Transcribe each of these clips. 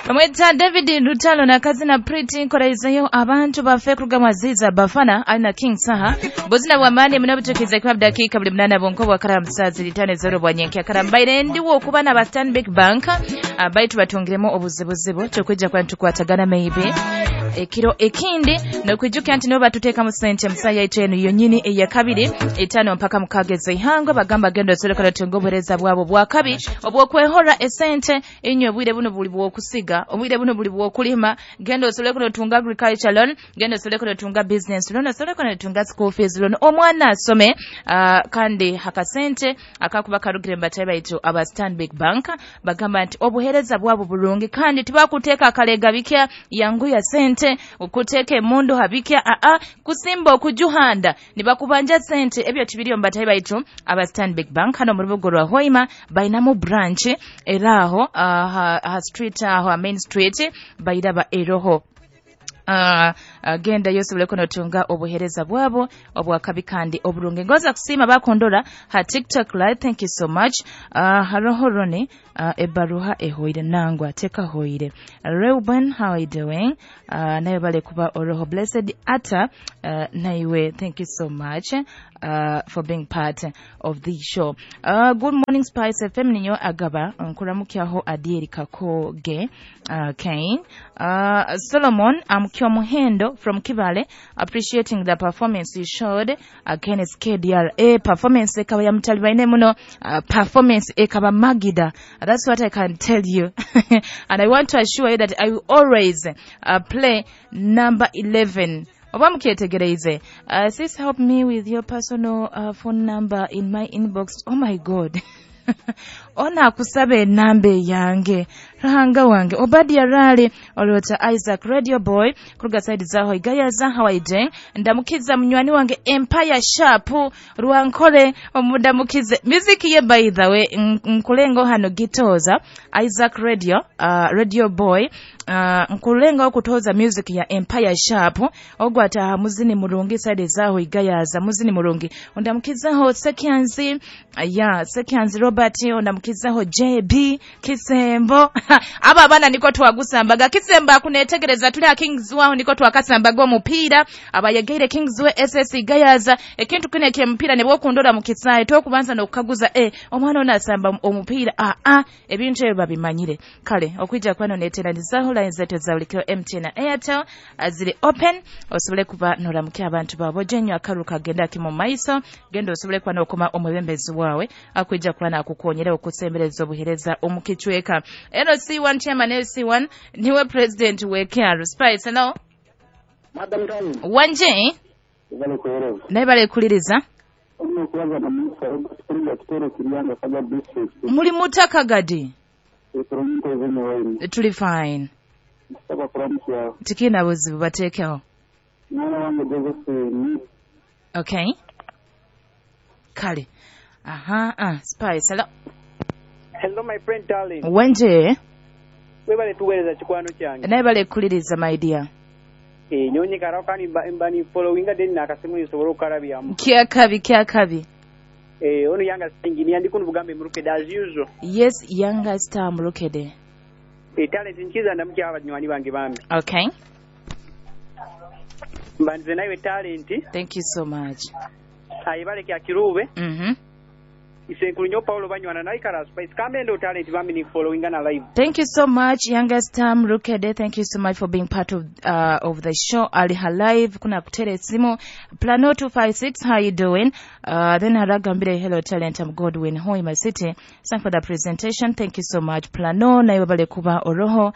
Bamwita David Lutalo na Kazina Pretty nkoraizeyo abantu bafe kuruga Aziza Bafana alina King Saha buzina bw'amaani muno butukize kuba dakika buli 8 bonko bwakara musazi litane zero bwanyenke akarambaire ndiwo okuba na ba Stanbic Bank baitu batungiremu obuzibuzibu tukwijja kwa tukwatagana maybe ekiro ekindi nokwijuka nti nibo batuteekamu sente musaya yaitu eno yonyini eyakabiri 5 mpaka 6 ez'eihangwe bagamba genda osolekera tunga obuheereza bwabo bwakabi obwokwehora esente inywe obwire buno buli bwokusiga obwire buno buli bwokulima genda osolekera otunga agriculture loan genda osolekera otunga business loan osolekera otunga school fees loan omwana asome kandi hakasente akakuba karugire mbatayi baitu aba Stanbic Bank bagamba nti obuheereza bwabo bulungi kandi tibakuteeka akalega bikya yangu ya sente okuteeka emundu habikya aa kusimba okujuhanda nibakubanja sente ebyo tibiriyo mbatayi baitu aba Stanbic Bank hano mu rubuga rwa Hoima bainamu branch eraho ha street aho main street bairaba eroho. Genda yosobole kunotunga obuhereza bwabo obwakabi kandi oburungi. Ngoza kusima bakondora ha TikTok live, thank you so much. Haroho Roni ebaruha ehoire nangwa teka hoire. Reuben, how are you doing? Nayo bale kuba oroho blessed ata naiwe, thank you so much for being part of the show. Good morning Spice FM ninyo agaba nkuramukyaho Adieri Kakoge. Okay. Solomon Amkyomuhendo from Kibale, appreciating the performance you showed against KDRA. Performance ekaba ya mutalibaine muno, performance ekaba magida. That's what I can tell you. And I want to assure you that I will always play number 11. Oba mukyetegereze. Sis, help me with your personal phone number in my inbox. Oh my God. Ona akusaba enamba eyange Ruhanga wange. Obadia Rali olota Isaac Radio Boy kuruga side zaho igayaza, how are you doing? Ndamukiza munywani wange Empire Sharp Rwankole omudamukize music ye, by the way nkulengo hano gitoza Isaac Radio Radio Boy nkulenga okutoza music ya Empire Sharp ogwata muzini murungi side zaho igayaza muzini murungi. Ondamukizaho Sekyanzi ya Sekyanzi Robert, ondamukizaho JB Kisembo. Aba abana niko twagusambaga Kisembo akunetegereza tuli a Kings waho niko twakasambaga omupiira abayegeire Kings we SS Gayaza ekintu kine ky'omupiira ne bwokundora mu kisaye tokubanza n'okukaguza omwana ono asamba omupiira ebintu ebyo babimanyire. Kale okwijja kwano neteranizaho line zetu za bulikiro MTN na Airtel ziri open osobole kuba noramukya abantu babo jenyo akaruka genda kimu maiso genda osobole kuba nokoma omwebembezi wawe akwijja kuba nakukonyera okusembereza obuhereza omukichweka. LC1 chairman LC1 niwe president we KR Spice. Hello Madam Tani. Wanje naye kuliriza muli mutaka gadi tuli fine tikina buzibu batekeho. Okay kale aha Spice. Hello. Hello my friend darling. Wanje webale tuwereza kikwano kyange naye bale kuliriza my dear. Nyonyi karaka ni mbani followinga then nakasimu nsobola okarabyamu kyakabi kyakabi. Ono yanga engineer ndi kuno bugambe Murukede as usual. Yes, yanga star Murukede. Talent nkiza ndamukya abanywani bange bambi. Okay. Mbanze nawe talent. Thank you so much. Ayibale kya kirube. Isenkulu nyo Paulo banywana na ikara Spice kamendo talent bambi ni following na live. Thank you so much youngest Tam Rukede, thank you so much for being part of the show. Ali Halive kuna kutere simu Plano 256, how you doing? Then haragambire hello talent, I'm Godwin Hoima City. Thank for the presentation. Thank you so much Plano naye bale kuba oroho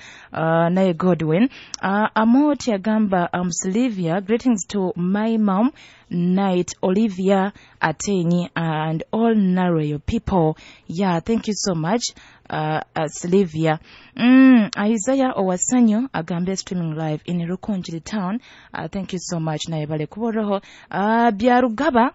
naye Godwin. Amoti agamba Sylvia, greetings to my mom Night Olivia Atenyi and all Naroyo people. Yeah, thank you so much Sylvia. Isaiah Owasanyo agambe streaming live in Rukonjiri town. Thank you so much naye bale kuboroho. Byarugaba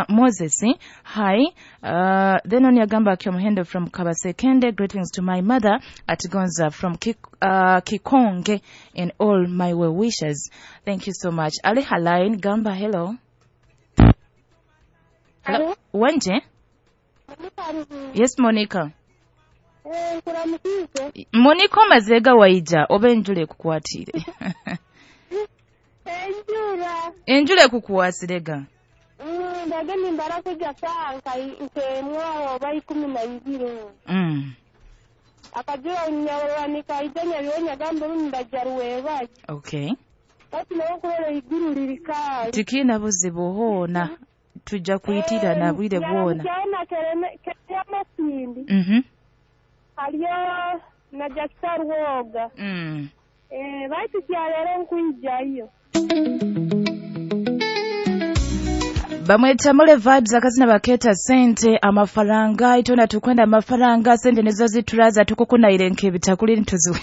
Moses, hi. Then on Yagamba Kyomuhendo from Kabasekende, greetings to my mother at Gonza from Kikonge and all my well wishes. Thank you so much. Ali Halain Gamba, hello. Hello. Wanje? Yes, Monica. Nkuramukize. Muniko mazega waija oba enjura ekukwatire? Enjura. Enjura ekukwasirega? Ndage nimbara kuja saa nkemwaho oba 12. Akajura nyawanika nyabyonya gambe ndajaruweba. Okay. Bati nawo kurora iguru lirikali. Tikina buzibu hoona. Tujja kuitira na bwire bwona. Kyana kereme kereme. Haliyo na Jackson Woga. Baitu kyalero nkuijayo. Bamweta mule vibes akazina baketa sente amafaranga itona tukwenda amafaranga sente nizo zituraza tukukunaire nkebitakuli nituzi.